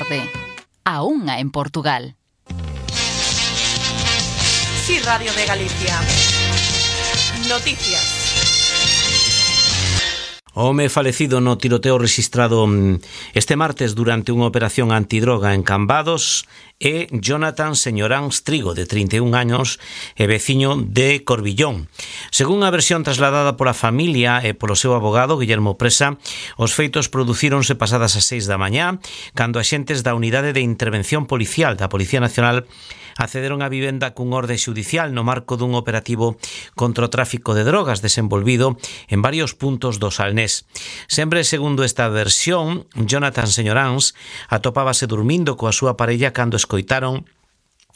tarde. A unha en Portugal. Sí, Radio de Galicia. Noticias. O home falecido no tiroteo rexistrado este martes durante unha operación antidroga en Cambados é Jonathan Señoráns Trigo, de 31 anos e veciño de Corbillón. Según a versión trasladada pola familia e polo seu abogado, Guillermo Presa, os feitos producíronse pasadas as 6 da mañá, cando axentes da Unidade de Intervención Policial da Policía Nacional accederon á vivenda cun orde xudicial no marco dun operativo contra o tráfico de drogas desenvolvido en varios puntos do Salnés. Sempre segundo esta versión, Jonathan Señoráns atopábase dormindo coa súa parella cando escoitaron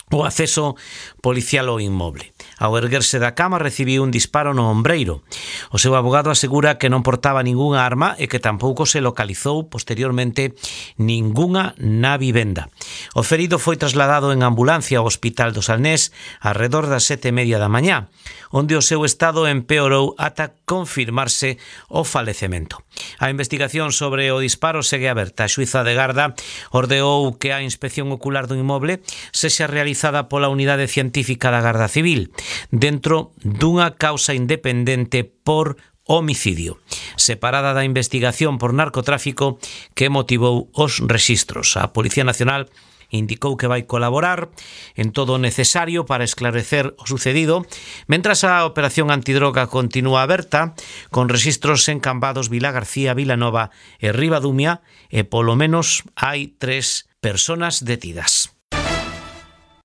o acceso policial ao inmoble. Ao erguerse da cama recibiu un disparo no ombreiro. O seu abogado asegura que non portaba ningunha arma e que tampouco se localizou posteriormente ningunha na vivenda. O ferido foi trasladado en ambulancia ao Hospital do Salnés arredor das 7:30 da mañá, onde o seu estado empeorou ata confirmarse o falecemento. A investigación sobre o disparo segue aberta. A xuíza de garda ordeou que a inspección ocular do inmoble sexa realizada pola Unidade Científica da Garda Civil, dentro dunha causa independente por homicidio, separada da investigación por narcotráfico que motivou os rexistros. A Policía Nacional indicou que vai colaborar en todo o necesario para esclarecer o sucedido, mentras a operación antidroga continúa aberta, con rexistros en Cambados, Vilagarcía, Vilanova e Ribadumia, e polo menos hai 3 persoas detidas.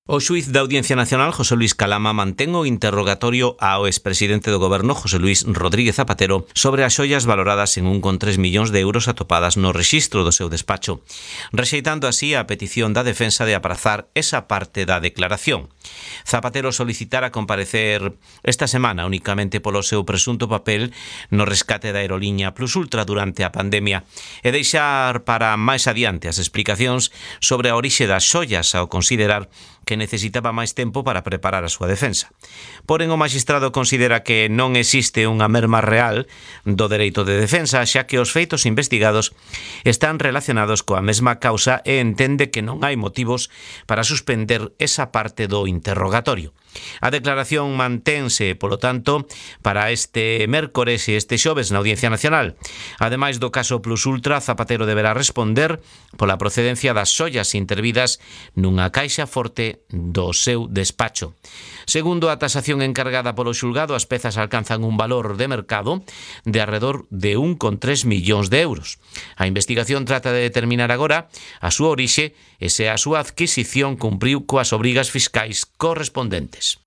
O xuíz da Audiencia Nacional, José Luis Calama, mantén o interrogatorio ao expresidente do Goberno, José Luis Rodríguez Zapatero, sobre as xoias valoradas en 1,3 millóns de euros atopadas no rexistro do seu despacho, rexeitando así a petición da defensa de aprazar esa parte da declaración. Zapatero solicitara comparecer esta semana únicamente polo seu presunto papel no rescate da aeroliña Plus Ultra durante a pandemia e deixar para máis adiante as explicacións sobre a orixe das xoias ao considerar que necesitaba máis tempo para preparar a súa defensa. Porén, o magistrado considera que non existe unha merma real do dereito de defensa, xa que os feitos investigados están relacionados coa mesma causa e entende que non hai motivos para suspender esa parte do interrogatorio. A declaración mantense, polo tanto, para este mércores e este xoves na Audiencia Nacional. Ademais do caso Plus Ultra, Zapatero deberá responder pola procedencia das xoias intervidas nunha caixa forte do seu despacho. Segundo a tasación encargada polo xulgado, as pezas alcanzan un valor de mercado de arredor de 1,3 millóns de euros. A investigación trata de determinar agora a súa orixe e se a súa adquisición cumpriu coas obrigas fiscais correspondentes.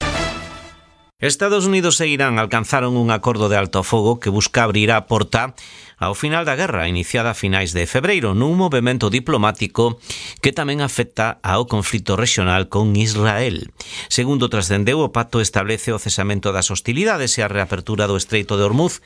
Estados Unidos e Irán alcanzaron un acordo de alto fogo que busca abrir a porta ao final da guerra iniciada a finais de febreiro nun movemento diplomático que tamén afecta ao conflito rexional con Israel. Segundo trascendeu, o pacto establece o cesamento das hostilidades e a reapertura do Estreito de Hormuz,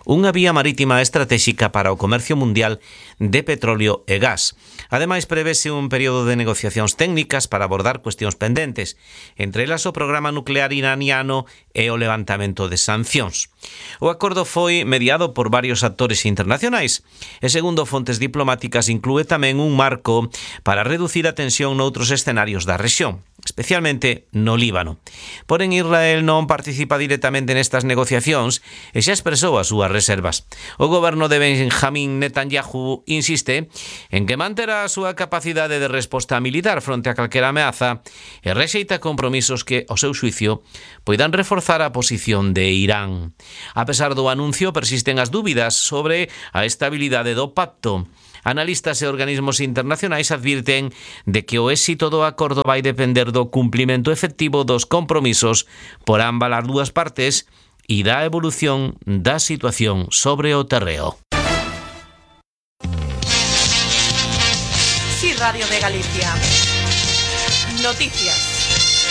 unha vía marítima estratégica para o comercio mundial de petróleo e gas. Ademais, prevese un período de negociacións técnicas para abordar cuestións pendentes, entre elas o programa nuclear iraniano e o levantamento de sancións. O acordo foi mediado por varios actores internacionais e, segundo fontes diplomáticas, inclúe tamén un marco para reducir a tensión noutros escenarios da rexión, especialmente no Líbano. Porén, Israel non participa directamente nestas negociacións e xa expresou as súas reservas. O goberno de Benjamín Netanyahu insiste en que manterá a súa capacidade de resposta militar fronte a calquera ameaza e rexeita compromisos que, ao seu xuicio, poidan reforzar a posición de Irán. A pesar do anuncio, persisten as dúbidas sobre a estabilidade do pacto. Analistas e organismos internacionais advirten de que o éxito do acordo vai depender do cumprimento efectivo dos compromisos por ambas as dúas partes e da evolución da situación sobre o terreo. Sí, Radio de Galicia. Noticias.